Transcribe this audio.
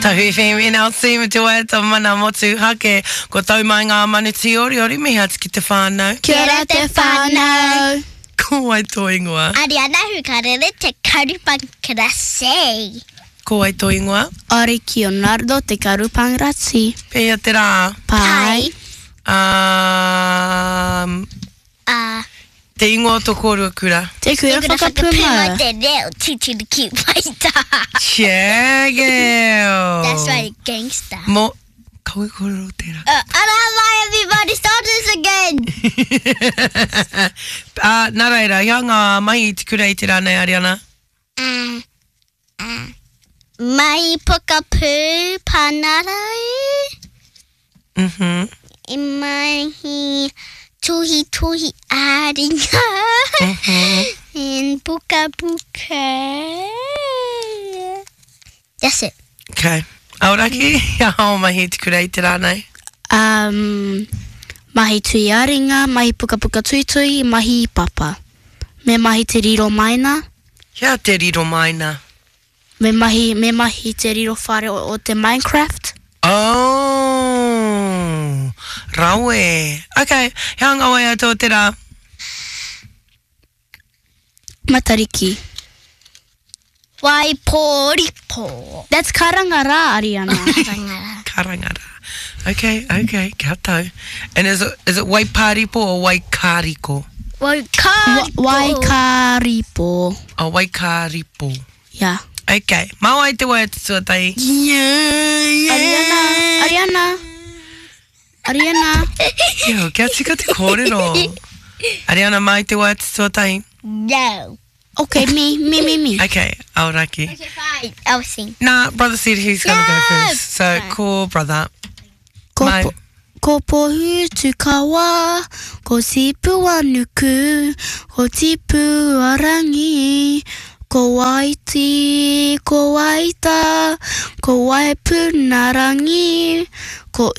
Tahu FM NLC me te waiata mana motuhake. Kua tau mai ngā manu tīoriori, mihi atu ki te whānau. Kia ora te whānau. Ko wai tō ingoa? Ariana Hukarere Te Karupangrasi. Ko wai tō ingoa? Ariki Leonardo Te Karupangrasi. Pēhea te rā? Pai. Um, A. Te ingoa o tō kōrua kura? Te Kura Whakapūmau. Te reo tūturu ki Waitā. Yeah, girl. That's right, gangster. Mo, kaua e kōrero tērā. Uh, ara mai everybody, start this again. uh, nā reira, hea ngā mahi i te kura i te rā nei, Ariana? Uh, uh, mahi pokapū pāngarau. Mm-hmm. I mahi tuhituhi ā-ringa. Mm-hmm. And pukapuka. That's it. Okay. Aoraki, he aha o mahi i te kura i te rā nei? Um, mahi tui ā-ringa, mahi pukapuka tuitui, mahi papa. Me mahi te riro maina. Hea te riro maina? Me mahi, me mahi te riro whare o, o te Minecraft. Oh! Rawe. Okay, he aha ngā waiata o te rā? Matariki. Waiporipo. That's karanga rā, Ariana. Karanga rā. Karanga rā. Okay, okay, kia tau. And is it, is it Waiparipo or Waikariko? Waikariko. Waikariko. Oh, Waikariko. Yeah. Okay, mā wai te waiata tuatahi? Yeah, yeah. Ariana, Ariana. Ariana. Ew, kia tika te kōrero. Ariana, mai te waiata tuatahi. No. Okay, me, me, me, me. Okay, Aoraki. Okay, fine. I'll sing. Nah, brother said he's gonna go No! first. So, Fine. ko brother. Ko, Mai. po, ko Pohutukawa, ko Tipuanuku, ko Tipuarangi, ko Waiti, ko Waita, ko Waipunarangi, ko.